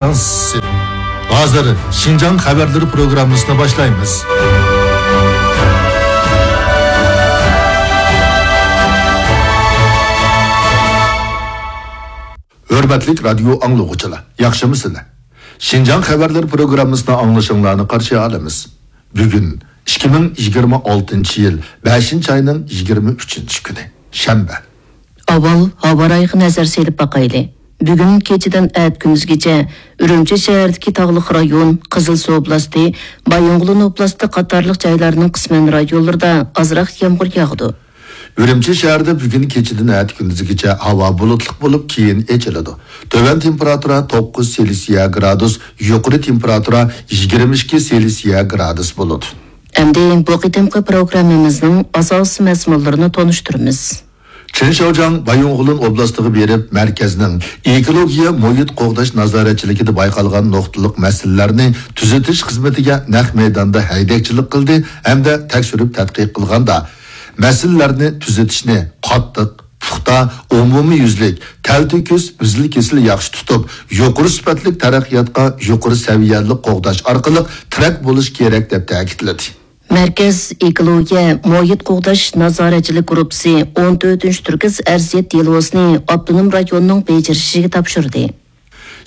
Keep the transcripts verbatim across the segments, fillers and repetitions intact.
ھازىر شىنجاڭ خەۋەرلىرى پروگراممىسىنى باشلايمىز. ھۆرمەتلىك رادىيو ئاڭلىغۇچىلار، ياخشىمۇسىلەر؟ شىنجاڭ خەۋەرلىرى پروگراممىسىنى ئاڭلىشىڭلارنى قارشى ئالىمىز. بۈگۈن ئىككى مىڭ يىگىرمە ئالتىنچى يىل بەشىنچى ئاينىڭ يىگىرمە ئۈچىنچى كۈنى، شەنبە. ئاۋۋال ھاۋا رايىغا نەزەر سېلىپ باقايلى. بۈگۈن كېچىدىن ئەتە كۈندۈزگىچە ئۈرۈمچى شەھىرىدىكى تاغلىق رايون، قىزىلسۇ ئوبلاستى، بايىنغولىن ئوبلاستى قاتارلىق جايلارنىڭ قىسمەن رايونلىرىدا ئازراق يامغۇر ياغىدۇ. ئۈرۈمچى شەھىرىدە بۈگۈن كېچىدىن ئەتە كۈندۈزگىچە ھاۋا بۇلۇتلۇق بولۇپ، كېيىن ئېچىلىدۇ. تۆۋەن تېمپېراتۇرا توققۇز سېلسىيە گرادۇس، يۇقىرى تېمپېراتۇرا يىگىرمە ئىككى سېلسىيە گرادۇس بولىدۇ. ئەمدى بۇ قېتىمقى پروگراممىمىزنىڭ ئاساسىي مەزمۇنلىرىنى تونۇشتۇرىمىز. چېن شياۋجياڭ بايىنغولىن ئوبلاستىغا بېرىپ، مەركەزنىڭ ئېكولوگىيە مۇھىت قوغداش نازارەتچىلىكىدە بايقالغان نۇقتىلىق مەسىلىلەرنى تۈزىتىش خىزمىتىگە نەق مەيداندا ھەيدەكچىلىك قىلدى ھەمدە تەكشۈرۈپ تەتقىق قىلغاندا، مەسىلىلەرنى تۈزىتىشنى قاتتىق، پۇختا، ئومۇميۈزلۈك، تەلتۆكۈس، مەزىل-كېسىل ياخشى تۇتۇپ، يۇقىرى سۈپەتلىك تەرەققىياتقا يۇقىرى سەۋىيەلىك قوغداش ئارقىلىق تىرەك بولۇش كېرەك، دەپ تەكىتلىدى. مەركەز ئېكولوگىيە مۇھىت قوغداش نازارەتچىلىك گۇرۇپپىسى ئون تۆتىنچى تۈركۈس ئەرزىيەت دېلوسىنى ئاپتونوم رايوننىڭ بېجىرىشىگە تاپشۇردى.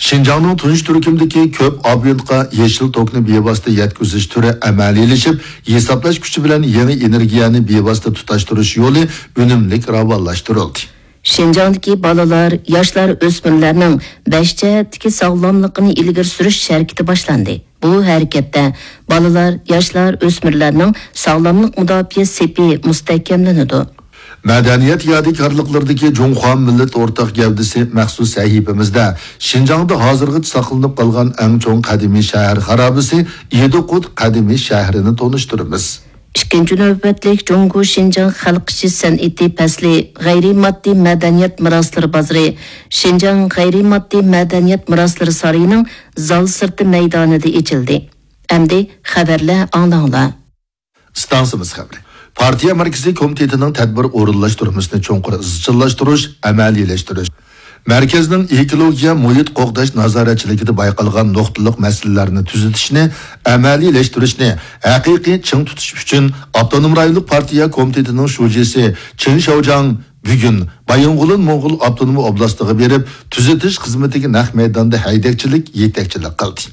شىنجاڭنىڭ تۇنجى تۈركۈمدىكى كۆپ ئابونتقا يېشىل توكنى بىۋاسىتە يەتكۈزۈش تۈرى ئەمەلىيلىشىپ، ھېسابلاش كۈچى بىلەن يېڭى ئېنېرگىيەنى بىۋاسىتە تۇتاشتۇرۇش يولى ئۈنۈملۈك راۋانلاشتۇرۇلدى. شىنجاڭدىكى بالىلار، ياشلار، ئۆسمۈرلەرنىڭ بەش جەھەتتىكى ساغلاملىقىنى ئىلگىرى سۈرۈش ھەرىكىتى باشلاندى. بۇ ھەرىكەتتە بالىلار، ياشلار، ئۆسمۈرلەرنىڭ ساغلاملىق مۇداپىئە سېپى مۇستەھكەملىنىدۇ. مەدەنىيەت يادىكارلىقلىرىدىكى جۇڭخۇا مىللەت ئورتاق گەۋدىسى مەخسۇس سەھىپىمىزدە شىنجاڭدا ھازىرغىچە ساقلىنىپ قالغان ئەڭ چوڭ قەدىمىي شەھەر خارابىسى ئىدىقۇت قەدىمىي شەھىرىنى تونۇشتۇرىمىز. ئىككىنچى نۆۋەتلىك جۇڭگو شىنجاڭ خەلق ئىشى سەنئىتى پەسلى غەيرىي ماددىي مەدەنىيەت مىراسلىرى بازىرى، شىنجاڭ غەيرىي ماددىي مەدەنىيەت مىراسلىرى سارىيىنىڭ زال سىرتى مەيدانىدا ئېچىلدى. ئەمدى خەۋەرلەر ئاڭلاڭلار. ئىستانسىمىز خەۋىرى. پارتىيە مەركىزىي كومىتېتىنىڭ تەدبىر ئورۇنلاشتۇرمىسىنى چوڭقۇر ئىزچىللاشتۇرۇش، ئەمەلىيلەشتۈرۈش. مەركەزنىڭ ئېكولوگىيە مۇھىت قوغداش نازارەتچىلىكىدە بايقالغان نۇقتىلىق مەسىلىلەرنى تۈزىتىشنى، ئەمەلىيلەشتۈرۈشنى ھەقىقىي چىڭ تۇتۇش ئۈچۈن ئاپتونوم رايونلۇق پارتىيە كومىتېتىنىڭ شۇجىسى چېن شياۋجياڭ بۈگۈن بايىنغولىن موڭغۇل ئاپتونوم ئوبلاستىغا بېرىپ، تۈزىتىش خىزمىتىگە نەق مەيداندا ھەيدەكچىلىك، يېتەكچىلىك قىلدى.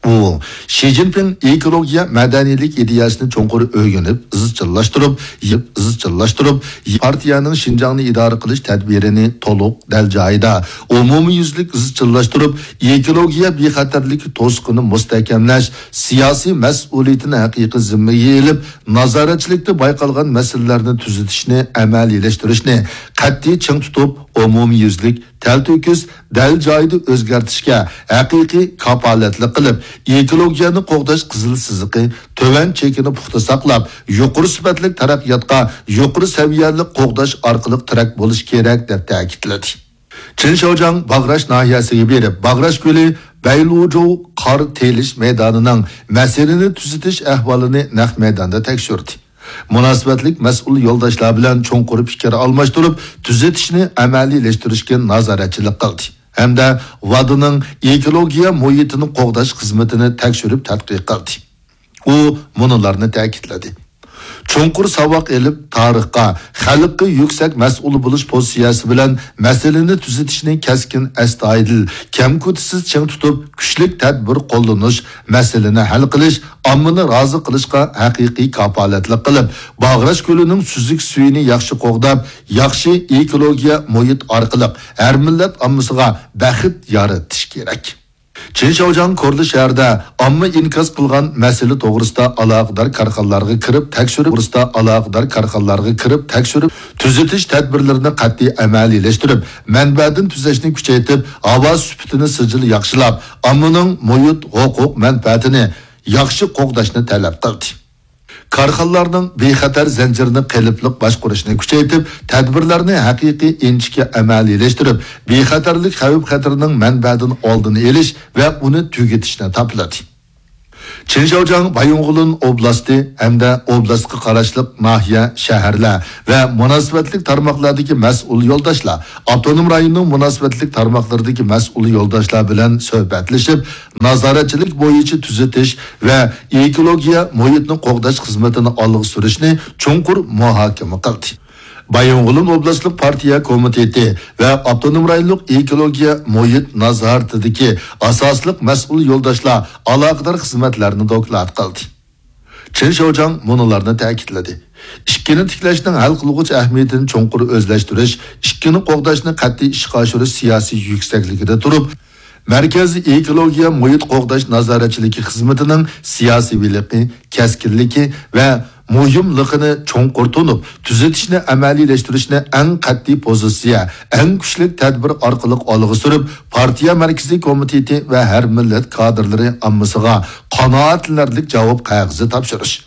ئۇ شى جىنپىڭ ئېكولوگىيە مەدەنىيلىك ئىدىيەسىنى چوڭقۇر ئۆگىنىپ، ئىزچىللاشتۇرۇپ، يىپ ئىزچىللاشتۇرۇپ، پارتىيەنىڭ شىنجاڭنى ئىدارە قىلىش تەدبىرىنى تولۇق، دەل جايىدا، ئومۇميۈزلۈك ئىزچىللاشتۇرۇپ، ئېكولوگىيە بىخەتەرلىكى توسۇقىنى مۇستەھكەملەش، سىياسىي مەسئۇلىيىتىنى ھەقىقىي زىممىگە ئېلىپ، نازارەتچىلىكتە بايقالغان مەسىلىلەرنى تۈزىتىشنى، ئەمەلىيلەشتۈرۈشنى قەتئىي چىڭ تۇتۇپ، ئومۇميۈزلۈك، تەلتۆكۈس، دەل جايىدا ئۆزگەرتىشكە ھەقىقىي كاپالەتلىك قىلىپ، ئېكولوگىيەنى قوغداش قىزىل سىزىقى، تۆۋەن چېكىنى پۇختا ساقلاپ، يۇقىرى سۈپەتلىك تەرەققىياتقا يۇقىرى سەۋىيەلىك قوغداش ئارقىلىق تىرەك بولۇش كېرەك، دەپ تەكىتلىدى. چېن شياۋجياڭ باغراش ناھىيەسىگە بېرىپ، باغراش كۆلى، بەيلۇجۇ قار تېيىلىش مەيدانىنىڭ مەسىلىنى تۈزىتىش ئەھۋالىنى نەق مەيداندا تەكشۈردى. مۇناسىۋەتلىك مەسئۇل يولداشلار بىلەن چوڭقۇر پىكىر ئالماشتۇرۇپ، تۈزىتىشنى ئەمەلىيلەشتۈرۈشكە نازارەتچىلىك قىلدى ھەمدە ۋادىنىڭ ئېكولوگىيە مۇھىتىنى قوغداش خىزمىتىنى تەكشۈرۈپ تەتقىق قىلدى. ئۇ مۇنۇلارنى تەكىتلىدى. چوڭقۇر ساۋاق ئېلىپ، تارىخقا، خەلققە يۈكسەك مەسئۇل بولۇش پوزىتسىيەسى بىلەن مەسىلىنى تۈزىتىشنى كەسكىن، ئەستايىدىل، كەمكۈتۈشسىز چىڭ تۇتۇپ، كۈچلۈك تەدبىر قوللىنىش، مەسىلىنى ھەل قىلىش، ئاممىنى رازى قىلىشقا ھەقىقىي كاپالەتلىك قىلىپ، باغراش كۆلىنىڭ سۈزۈك سۈيىنى ياخشى قوغداپ، ياخشى ئېكولوگىيە مۇھىت ئارقىلىق ھەر مىللەت ئاممىسىغا بەخت يارىتىش كېرەك. چېن شياۋجياڭ كورلا شەھىرىدە ئامما ئىنكاس قىلغان مەسىلە توغرىسىدا ئالاقىدار كارخانىلارغا كىرىپ تەكشۈرۈپ، توغرىسىدا ئالاقىدار كارخانىلارغا كىرىپ تەكشۈرۈپ، تۈزىتىش تەدبىرلىرىنى قەتئىي ئەمەلىيلەشتۈرۈپ، مەنبەدىن تۈزەشنى كۈچەيتىپ، ھاۋا سۈپىتىنى سىجىل ياخشىلاپ، ئاممىنىڭ مۇھىت ھوقۇق مەنپەئەتىنى ياخشى قوغداشنى تەلەپ قىلدى. كارخانىلارنىڭ بىخەتەر زەنجىرىنى قېلىپلىق باشقۇرۇشنى كۈچەيتىپ، تەدبىرلەرنى ھەقىقىي ئىنچىكە ئەمەلىيلەشتۈرۈپ، بىخەتەرلىك خەۋپ-خەتىرىنىڭ مەنبەدىن ئالدىنى ئېلىش ۋە ئۇنى تۈگىتىشنى تاپىلىدى. چېن شياۋجياڭ بايىنغولىن ئوبلاستى ھەمدە ئوبلاستقا قاراشلىق ناھىيە، شەھەرلەر ۋە مۇناسىۋەتلىك تارماقلاردىكى مەسئۇل يولداشلار، ئاپتونوم رايوننىڭ مۇناسىۋەتلىك تارماقلىرىدىكى مەسئۇل يولداشلار بىلەن سۆھبەتلىشىپ، نازارەتچىلىك بويىچە تۈزىتىش ۋە ئېكولوگىيە مۇھىتنى قوغداش خىزمىتىنى ئالغا سۈرۈشنى چوڭقۇر مۇھاكىمە قىلدى. بايىنغولىن ئوبلاستلىق پارتىيە كومىتېتى ۋە ئاپتونوم رايونلۇق ئېكولوگىيە مۇھىت نازارىتىدىكى ئاساسلىق مەسئۇل يولداشلار ئالاقىدار خىزمەتلەرنى دوكلات قىلدى. چېن شياۋجياڭ مۇنۇلارنى تەكىتلىدى: ئىككىنى تىكلەشنىڭ ھەل قىلغۇچ ئەھمىيىتىنى چوڭقۇر ئۆزلەشتۈرۈش، ئىككىنى قوغداشنى قەتئىي ئىشقا ئاشۇرۇش سىياسىي يۈكسەكلىكىدە تۇرۇپ، مەركەزىي ئېكولوگىيە مۇھىت قوغداش نازارەتچىلىكى خىزمىتىنىڭ سىياسىيلىقى، كەسكىنلىكى ۋە مۇھىملىقىنى چوڭقۇر تونۇپ، تۈزىتىشنى ئەمەلىيلەشتۈرۈشنى ئەڭ قەتئىي پوزىتسىيە، ئەڭ كۈچلۈك تەدبىر ئارقىلىق ئالغا سۈرۈپ، پارتىيە مەركىزىي كومىتېتى ۋە ھەر مىللەت كادىرلىرى ئاممىسىغا قانائەتلىنەرلىك جاۋاب قەغىزى تاپشۇرۇش.